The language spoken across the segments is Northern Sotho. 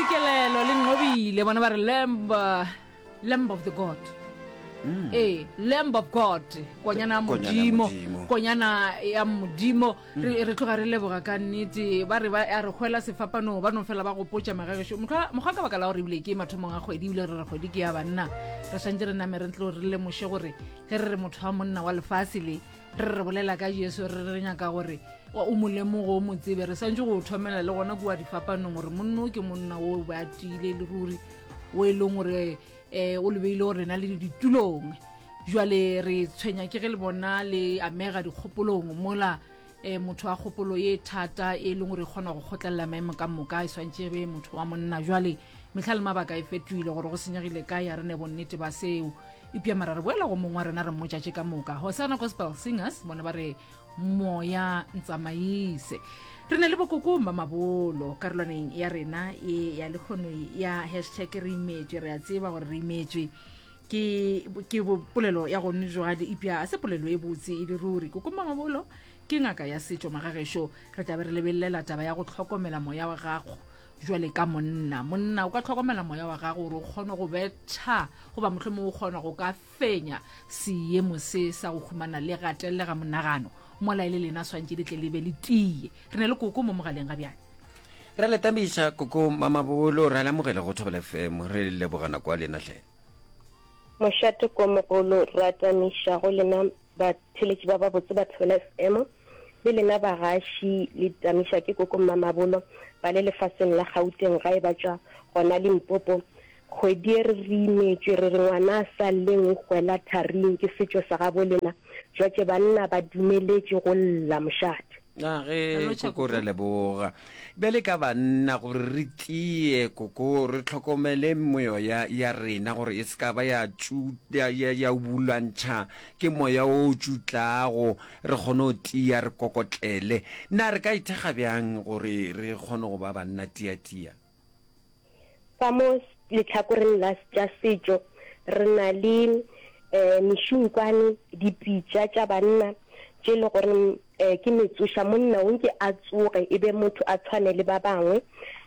Kelelo le Nqobile bona ba re lamb lamb of the god mm. ee lamb of god konyana ya modimo konyana ya modimo mm. re tloga re leboga ka nnete ba re ba a re hwela sefapanong ba no fela ba gopotša magagešo mokgwa ka baka la gore ebile ke mathomong a kgwedi ebile re re kgwedi ke ya banna re swantse re name re tlo re lemoše gore ge re re motho wa monna wa lefase le re re bolela ka jesu re re nyaka gore o mo lemogo o mo tsebe re swantse go thomela le gona kua difapanong gore monna o ke monna o ba tiile le ruri o e leng gore um o lebeile gore rena le ditulong jwale re tshwenya ke ge le bona le amega dikgopolong mola um motho wa kgopolo ye thata e leng gore e kgona go kgotlelela maemo ka moka e swantše be motho wa monna jwale mehla le mabaka e fetoile gore go senyegile kae a re ne bonnete ba seo epja mara re boela go mongwe wa rena re mmotša tše ka moka hosana gospel singers bona ba re moya ntsamaise re na le bokoko mamabolo karolwaneng ya rena e ya lekgono ya hashtag re imetšwe re a tseba gore re imetšwe ke ke polelo ya gone jwale epja a se polelo e botse e le ruri koko mamabolo ke ngaka ya setšo magagešo re tla be re lebelelela taba ya go tlhokomela moya wa gago jwale ka monna monna o ka tlhokomela moya wa gago gore o kgone go betha goba mohlomongwe o kgona go ka fenya seemo se sa go humana le gatellega monagano mola e le lena swantše le tle le be le tie re ne le koko mo mogaleng ga bjale re le tamiša koko mamabolo re lamogele go thobela fm re leboga nako ya lena hle mošate ko mogolo ra tamiša go lena Batheeletši ba babotse ba Thobela FM le lena bagaši le tamiša ke Koko Mmamabolo ba le lefaseng la Gauteng gae ba tšwa gona Limpopo. Kgwedi ye re re imetšwe re re ngwana a sa lleng o hwela tharing ke setšo sa gabo lena jwatše banna ba dumeletše go lla mošate. A ge Koko re a leboga. Bjale ka banna gore re tie Koko re hlokomele meoya ya rena gore e se ka ba ya ya, ya, ya ubulantšha ke moya o tšutlago re kgone go tia re kokotlele. Na re ka ithekga bjang gore re kgone go ba banna tia-tia? Ka mo lehlakoreng la tša setšo re na le um mešunkwane, dipitša tša banna tše e le gore um ke metsoša, monna o nke a tsoge e be motho a tshwane le ba bangwe.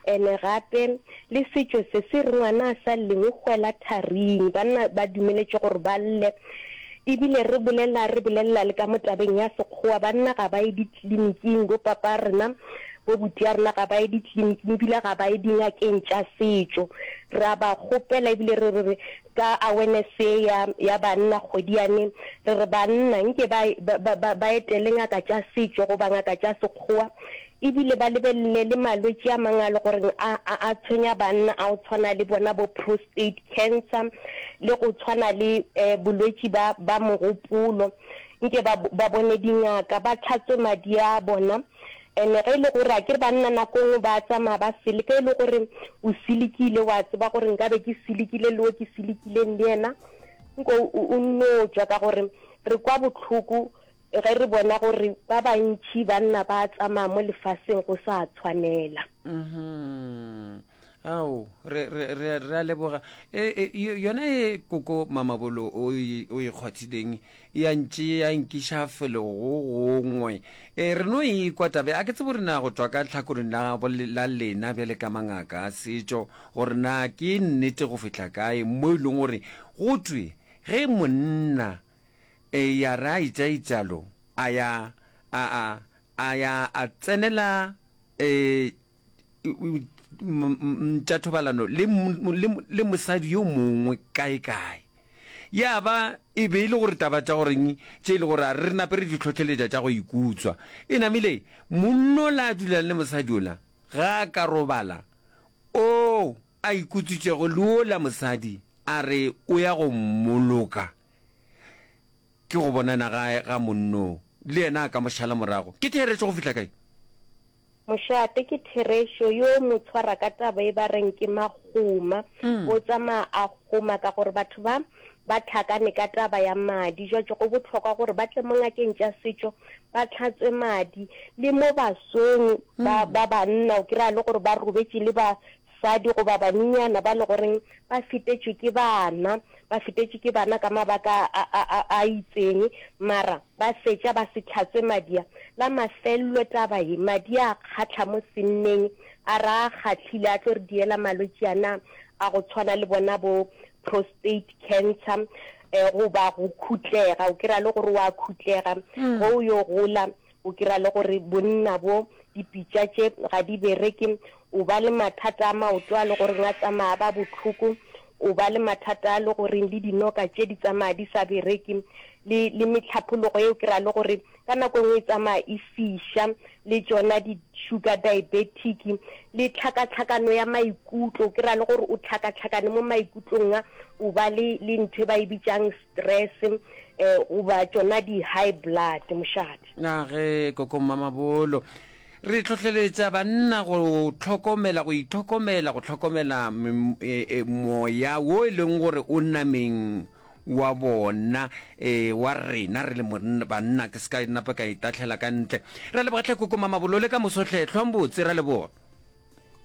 Ene gape le setšo se se re ngwana a sa lleng o hwela tharing, banna ba dumeletše gore ba lle. Ebile re bolela re bolelela le ka mo tabeng ya sekgowa, banna ga ba ye ditleliniking, bo papa rena, bo buti ya rena ga ba ye ditleliniking ebile ga ba ye dingakeng tša setšo. Re a ba kgopela ebile re re ka awareness ye ya, ya banna kgwedi yane, re re banna nke ba, ba, ba, ba etele ngaka tša setšo goba ngaka tša sekgowa Ebile ba lebelele le malwetši a mangwe a le goreng a, a, a tshwenya banna a go tshwana le bona bo prostate cancer le go tshwana le eh, bolwetši ba, ba mogopolo. Nke ba, ba bone dingaka, ba tlhatswe madi a bona. And-e ge e le gore, akere banna nako nngwe ba tsamaya ba seleka, e le gore o selekile, wa tseba gore nkabe ke selekile le o ke selekileng le yena, nko o, o nno tšwa ka gore re kwa bohloko Ge re bona gore ba bantši banna ba tsamaya mo lefaseng go sa tshwanela. Mhm. Ao, re, re, re, re a leboga. E, e, yona e koko Mamabolo o e, o e kgwathileng ya ntše ya nkiša felo go gongwe. E, re no e kwa tabe. A ke tsebe gore na go tšwa ka tlhakoreng la, la lena bjale ka mangaka a setšo gore na ke nnete go fihla kae mo e leng gore go thwe ge monna E ya re a itša-itšalo, a ya a, a, a ya a tsenela e, tša thobalano le, le, le mosadi yo mongwe kae-kae. Ya ba e be e le gore taba tša goreng tše e le gore a re nape re di hlohleletša tša go ikutswa. E namile monna ola a dulang le mosadi ola, ga a ka robala, o a ikutswitšego le ola mosadi a re o ya go mmoloka. Ke go bonana ga, ga monnoo, le yena a ka mo šala morago. Ke therešo go fihla kae? Mošate, ke therešo, yo mo tshwara ka taba e ba reng ke magoma, o tsamaya a goma ka gore batho ba ba hlakane ka taba ya madi. Jwatše go bohlokwa gore ba tle mo ngakeng tša setšo ba hlatswe madi. Le mo basweng ba, ba banna o kry-a le gore ba robetše le basadi goba banenyana ba le goreng ba fetetšwe ke bana. ba fetetše ke bana ka mabaka a, a, a, a itseng, mara ba fetša ba se hlatswe madi a. La mafello taba ye, madi a kgahla mo senneng, a ra a kgahlile, a tlo re diela malwetši ana a go tshwana le bona bo prostate cancer, eh, goba go khutlega, o kry-a le gore wa khutlega ge o yo gola, O kry-a le gore bonna bo, dipitša tše ga di bereke, o ba le mathata a maoto a le goreng a tsamaya a ba bohloko, o ba le mathata a le goreng le dinoka tše di tsamaya di sa bereke, le, le mehlapologo ye o kry-a le gore ka nako e nngwe e tsamaya e fiša, le tšona di sugar diabetic, le tlhakatlhakano ya maikutlo, o kry-a le gore o tlhakatlhakane mo maikutlong a, o ba le, le ntho e ba e bitšang stress eh, goba tšona di-high blood mošate. Na ge Koko Mmamabolo re hlohleletša banna go hlokomela, go itlhokomela, go hlokomela e, e, moya wo e leng gore o nameng wa bona e, wa rena re le banna ke se ka napa ka itahlela ka ntle. Re leboga hle Koko Mamabolo le ka moso hle hlwang botse ra leboga.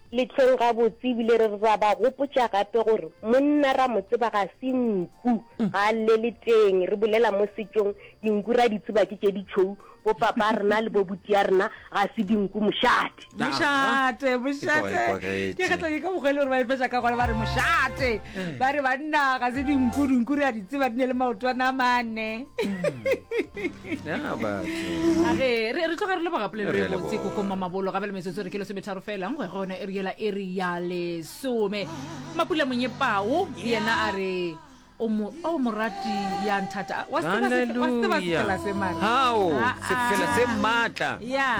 Lehlong gabotse ebile re ra ba gopotša gape gore monna ra mo tseba ga se nku, ga a llele teng. Re bolela mo setšong, dinku ra di tseba ke tše ditšhou, bo papa rena le bo buti ya rena ga se dinku mošate. Mošate, mošate. Ke kgetla ke ka mokgwa e le gore ba e fetša ka gona ba re mošate. Ba re banna ga se dinku, dinku re a di tseba di ne le maotwana a mane. Ya batho. A ge re re tloga re leboga polelo Re e a botse leboga. koko mamabolo gape le metsotso re ke lesometharo fela go ya go yona iri yela iri ya lesome mapula monyepao yena a re o mo o morati ya nthata wa se tseba se- wa se tseba Hallelujah. sefela se mare Hao, Ah, sefela se ah. maatla. ya.